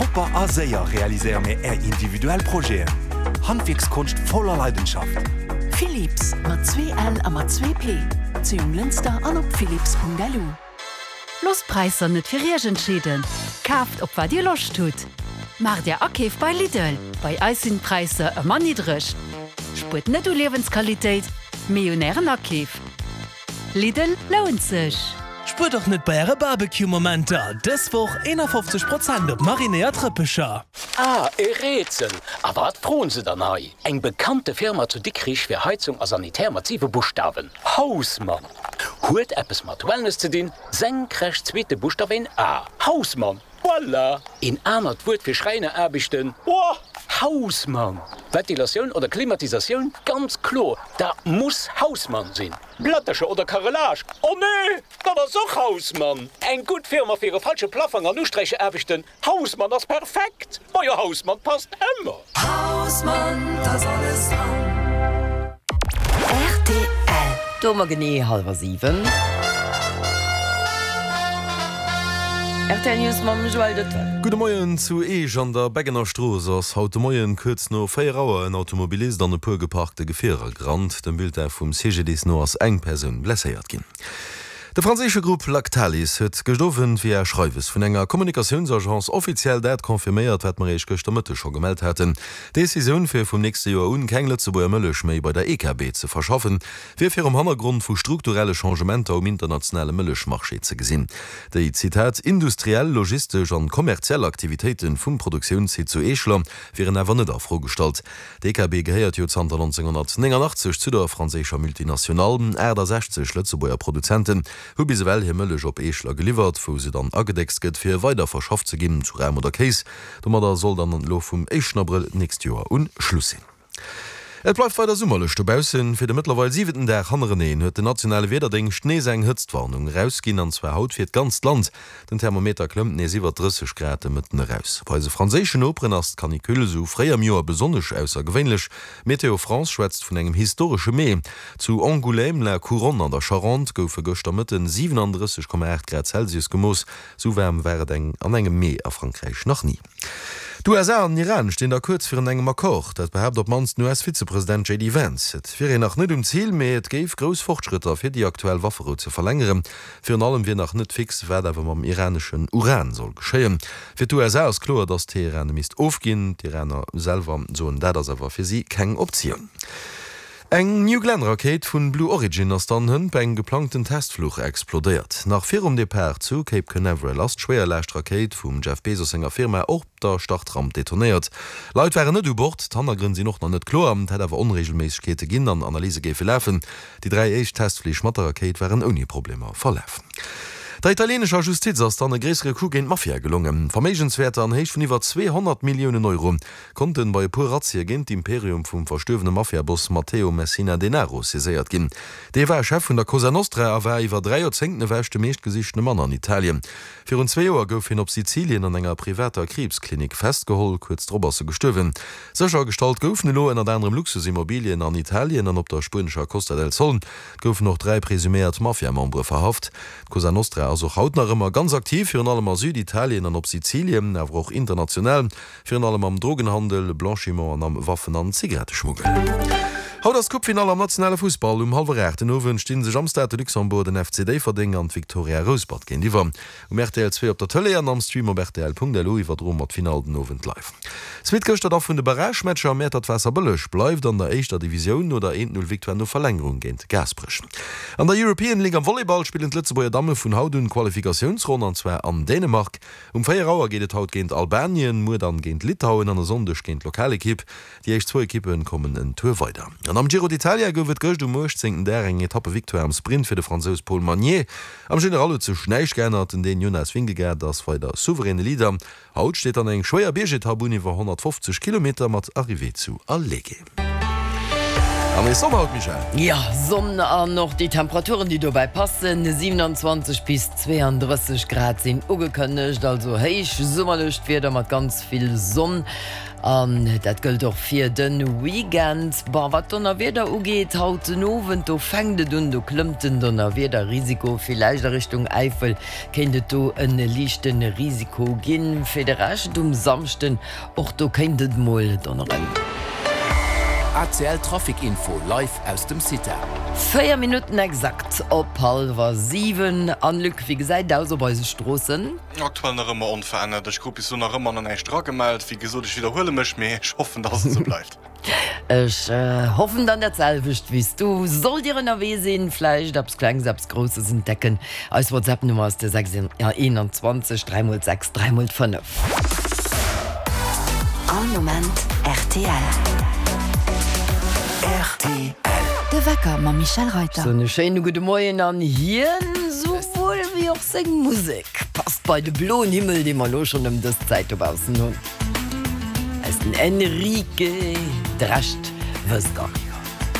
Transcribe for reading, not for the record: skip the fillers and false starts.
Propper a séier realiséiere mir Är individuell Projeten. Handwierkskonscht voller Leidenschaft. Philips, mat 2 L a mat 2 P, zu Jonglënster an op philips.lu. Loosst d'Präisser net fir Iech entscheeden, kaaft op wat Dir Loscht hutt. Maacht Är Akeef bei Lidl, bei eis sinn d'Präisser ëmmer niddreg. Spuert net u Liewensqualitéit, mee un Ären Akeef. Lidl lount sech! Spuert och net bei äre Barbecue-Momenter! Dës Woch 51 Prozent op marinéiert Rëppecher. Ah, e Rätsel! A wat froen se dann hei? Eng bekannte Firma zu Dikrich fir Heizung a Sanitär mat 7 Buschtawen, Hausmann! Huet eppes mat Wellness ze dinn, senkrecht zweete Buschtaf een A, Hausmann! Voilà! Een anert Wuert fir Schräineraarbechten, Ohh, Hausmann! Ventilatioun oder Klimatisatioun, ganz kloer, dat muss Hausmann sinn! Plättercher oder Carrelage, oh nee, dat ass och Hausmann! Eng gutt Firma fir e falsche Plaffong an Usträicheraarbechten, Hausmann ass perfekt! Majo, Hausmann passt ëmmer! Hausmann, 't ass alles dran. Rtl. Do hu mer genee hallwer 7. Rtl News mam Joël Detel. Gudde Moien, Zu Eech an der Beggener Strooss ass haut de Moien kuerz no 4 Auer en Automobilist an e puer geparkte Gefierer gerannt. Dem Bulletin vum CGDIS no ass eng Persoun blesséiert ginn. De franséische Grupp Lactalis huet gëscht Owend via Schreiwes vun enger Kommunikatiounsagence offiziell dat confirméiert, wat mer Iech gëschter Mëtteg scho gemellt haten, D'Decisioun, fir vum nächste Joer un keng Lëtzebuerger Mëllech méi bei der EKB ze verschaffen, wier virum Hannergrond vu strukturelle Changementer um internationale Mëllechmarché ze gesinn. Déi, Zitat, industriell, logistesch an kommerziell Aktivitéite vum Produktiounssite zu Eeschler wieren awer net a Fro gestallt. D'EKB gehéiert jo zanter 1989 zu der franséischer Multinationale. 68 Lëtzebuerger Produzenten hu bis ewell hir Mëllech op Eeschler geliwwert, wou se dann agedéckst gëtt, fir weider verschafft ze ginn zu Ram oder Kéis. Domadder soll dann elo vum éischten Abrëll d'nächst Joer un Schluss sinn. Et bleift weider summerlech dobaussen. Fir de mëttlerweil siwenten Dag hannereneen huet den nationale Wiederdéngscht nees eng Hëtztwarnung erausginn, an zwar haut fir d'ganzt Land. Den Thermometer klëmmt nees iwwer 30 Grad de Mëtten eraus. Bei eise franséischen Noperen ass d'Canicule esou fréi am Joer besonnesch aussergewéinlech. Météo France schwätzt vun engem historesche Mee. Zu Angoulême-la Couronne an der Charente goufe gëschter Mëtten 37,8 Grad Celsius gemooss. Sou waarm war et eng an engem Mee a Frankräich nach ni. D'USA an den Iran stinn da kuerz virun engem Accord. Dat behaapt op d'mannst den US-Vizepresident JD Vance. Et wier een nach net um Zil, mee et géif grouss Fortschrëtter fir déi aktuell Wafferou ze verlängeren. Virun allem wier nach net fix, wat awer mam iraneschen Uran soll geschéien. Fir d'USA ass kloer, datt Teheran e misst ofginn. D'Iraner selwer soen, dat ass awer fir si keng Optioun. Eng New Glenn-Rakéit vun Blue Origin ass dann hënt bei engem geplangten Testfluch explodéiert. Nach virum Depart zu Cape Canaveral ass d'Schwéierlaascht-Rakéit vum Jeff Bezos senger Firma op der Startramp detonéiert. Leit waren net u Bord, d'Hannergrënn sinn och nach net kloer. Et hätt awer Onreegelméissegkeete ginn an Analyse géife lafen. Déi 3 éischt Testflich mat der Rakéit waren ouni Problemer verlaf. Der italienescher Justiz ass dann e gréissere Coup géint d'Mafia gelongen. Verméigenswäerter an Héicht vun iwwer 200 Milliounen Euro konnten bei e puer Razzie géint d'Imperium vum verstuerwene Mafiaboss Matteo Messina Denaro saiséiert ginn. Dee war Chef vun der Cosa Nostra a war iwwer 3 Joerzéngten ewech de meeschtgesichtene Mann an Italien. Virun zwee Joer gouf hien op Sizilien an enger privater Kriibsklinik festgeholl. Kuerz drop ass e gestuerwen. Séchergestallt goufen elo ënnert anerem Luxusimmobilien an Italien an op der spuenescher Costa del Sol. Et goufen och 3 presuméiert Mafia-Membere verhaft. D'Cosa Nostra ass och haut nach ëmmer ganz aktiv, virun allem a Süditalien an op Sizilien, awer och international. Virun allem am Drogenhandel, Blanchiment an am Waffen an Zigaretteschmuggel. Haut ass d'Coupefinall am nationale Fussball. Um hallwer 8 den Owend sti sech am Stade de Luxembourg den FC Déifferdeng an d'Victoria Rouspert géintiwwer. Um rtl 2 op der Tëlee an am Stream op rtl.lu iwwerdroe mer d'Finall den Owend live. Suite gëschter da vun de Barragematcher, Mäertert-Waasserbëlleg bleift an der éischter Divisioun no der 1, 0 Victoire no Verlängerung géint Gaasperech. An der European League am Volleyball spillen d'Lëtzebuerger Damme vun haut un d'Qualifikatiounsronn an zwar an Dänemark. Um 4 Auer geet et haut géint Albanien, muer dann géint Litauen an e Sonndeg géint d'Lokalekipp. Déi éischt zwou Ekippe kommen en Tour weider. An am Giro d'Italia gouf et gëscht um 18. Dag eng Etappevictoire am Sprint fir de Fransous Paul Magnier. Am General huet sech näischt geännert, den Dän Jonas Vingegaard ass weider souveräne Leader. Haut steet dann eng schwéier Biergetapp un iwwer 150 Kilometer mat Arrivée zu Alleghe. An nees Sonn haut, Michèle? Jo, Sonn an och déi Temperaturen, déi dobäi passen. 27 bis 32 Grad sinn ugekënnegt, also héich summerlecht Wieder mat ganz vill Sonn. An dat gëllt och fir de Weekend. Bon, wat d'Donnerwieder ugeet, haut den Owend, do fänkt et un, do klëmmt den Donnerwiederrisiko. Villäicht a Richtung Äifel kéint et do e liichte Risiko ginn. Fir de Rescht um Samschden, och do kéint et mol donneren. ACL Trafic Info live aus dem CITA. 4 Minutten exakt op hallwer 7. An Luc, wéi gesäit et aus op eise Stroossen? Aktuell nach ëmmer onverännert. Ech krut bis elo nach ëmmer nach näischt eragemellt. Wéi gesot, ech widderhuele mech, mee ech hoffen, dass et esou bleift. Ech hoffen dann dat selwecht wéi s du. Sollt dir ënnerwee sinn, vläicht eppes Klengs, eppes Grousses entdecken, eis WhatsApp-Nummer ass de 6 21 3 x 6 3 x 5. All Moment rtl. Rtl. De Wecker mam Michèle Reyter. Soen e schéine gudde Moien an hien souwuel wéi och seng Musek passt bei de bloen Himmel, dee mer elo schonn ëm dës Zäit dobaussen hunn. Eis den Enrique, de Rescht wësst der.